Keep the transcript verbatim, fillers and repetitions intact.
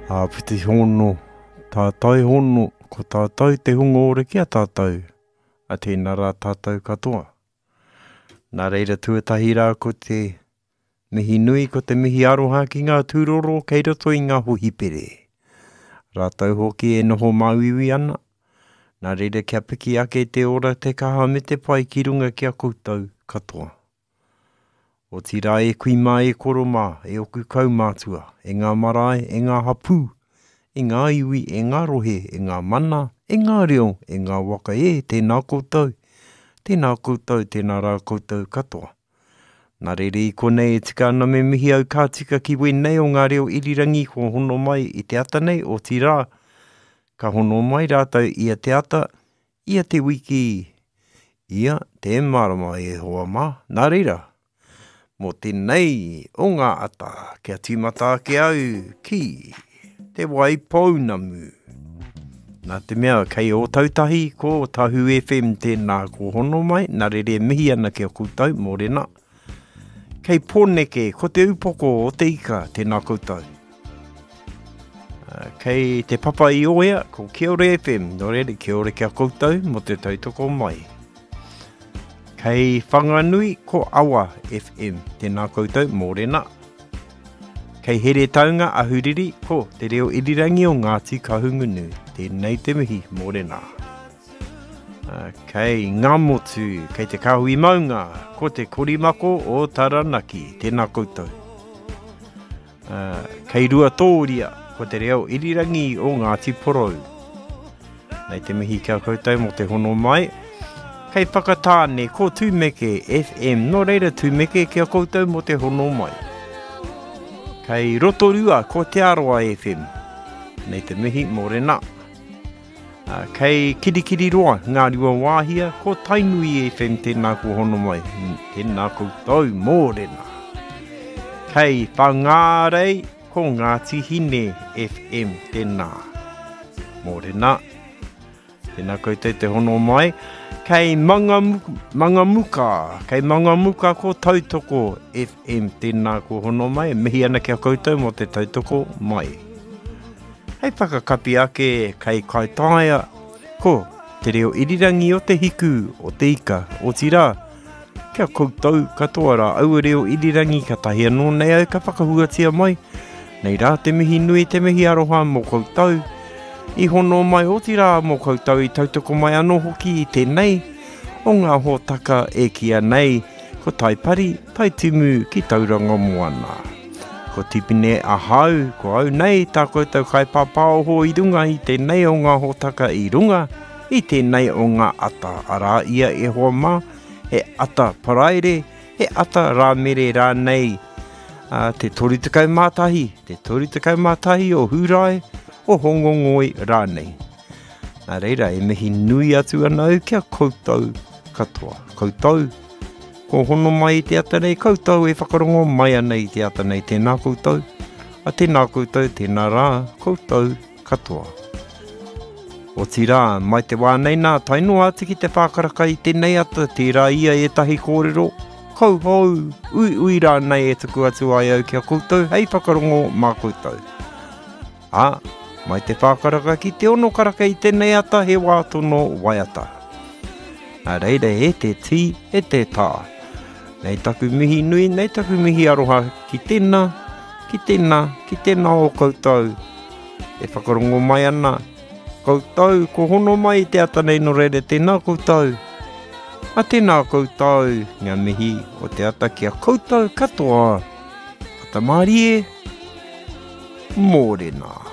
Āpiti hono, tātai hono, ko tātou te hunga ora ki a tātou, a tēnā rā tātou katoa. Nā reira tuatahi rā ko te mihi nui, ko te mihi aroha ki ngā tūroro kei roto i ngā hohipere. Rātou hoki e noho māuiui ana, nā reira kia piki ake te ora, te kaha me te pai ki runga ki a koutou katoa. Otirā e kui mā, e koro mā, e oku kaumātua, e ngā marae, e ngā hapū, e ngā iwi, e ngā rohe, e ngā mana, e ngā reo, e ngā waka e, tēnā koutou, tēnā koutou, tēnā rā koutou katoa. Nā reira i konei e tika ana me mihi au ka tika ki wēnei o ngā reo irirangi kua hono mai i te ata nei, otirā, ka hono mai rātou ia te ata, ia te wiki, ia te marama e hoa mā. Nā reira, mō tēnei o ngā ata, kia tīmata ake au ki Te Waipounamu. Nā te mea, kei Ōtautahi ko Tahu F M tēnā ko hono mai, nā reira e mihi ana ki a koutou, mōrena. Kei Pōneke, ko te upoko o te ika, tēnā koutou. Kei te papa i Oea, ko Kiore F M, nō reira, kia ora ki a koutou mō te tautoko mai. Kei Whanganui, ko Awa F M, tēnā koutou, mōrena. Kei Heretaunga, Ahuriri, ko te reo irirangi o Ngāti Kahungunu. Tēnei te mihi, mōrena. Kei Ngāmotu, kei te Kāhui Maunga, ko te Korimako o Taranaki. Tēnā koutou. Kei Ruatōria, ko te reo irirangi o Ngāti Porou. Nei te mihi kia koutou mō te hono mai. Kei Whakatāne, ko Tūmeke F M. Nō reira Tūmeke kia koutou mō te hono mai. Kei Rotorua, ko Te Arawa F M. Nei te mihi, mōrena. Kei Kirikiriroa, Ngā Rua Wāhia, ko Tainui F M, tēnā ko hono mai. Tēnā koutou, mōrena. Kei Whangārei, ko Ngāti Hine F M, tēnā. Mōrena. Tēnā koutou te hono mai. Kei Mangamu-, Mangamuka, kei Mangamuka ko Tautoko F M, tēnā ko hono mai. Mihi ana ki a koutou mō te tautoko mai. Hei whakakapi ake kei Kaitaia, ko te reo irirangi o te hiku, o te ika, otirā, kia koutou katoa rā aua reo irirangi ka tahi anō nei au ka whakahuatia mai. Nei rā te mihi nui, te mihi aroha mō koutou. I hono mai otirā mō koutou i tautoko mai anō hoki i tēnei o ngā hōtaka e kīa nei ko Taipari, Taitimu ki Tauranga Moana. Ko Tipene ahau, ko au nei tā koutou kaipāpāoho i runga i tēnei o ngā hōtaka i runga i tēnei o ngā ata. Arā ia e hoa mā, he ata paraire, he ata rāmere rānei, ā, te toru tekau mā tahi, te toru tekau mā tahi o Hūrae, o Hongongoi rānei. Nā reira, e mihi nui atu ana au kia koutou katoa. Koutou, ko hono mai i te ata nei, koutou e whakarongo mai ana i te ata nei. Tēnā koutou, a tēnā koutou, tēnā rā, koutou katoa. Otirā, mai te wā nei nā, tae noa atu ki te whākaraka i tēnei ata, tērā ia ētahi kōrero, kauhou, ui ui rānei e tuku atu ai au ki a koutou, hei whakarongo mā koutou. Ā, mai te whākaraka ki te ono karaka i tēnei ata, he wā tono waiata. Nā reira e te tī, e te tā. Nei taku mihi nui, nei taku mihi aroha ki tēnā, ki tēnā, ki tēnā o koutou. E whakarongo mai ana, koutou, ko hono mai i te ata nei nō reira tēnā koutou. A tēnā koutou, ngā mihi o te ata ki a koutou katoa. Ata mārie, mōrena.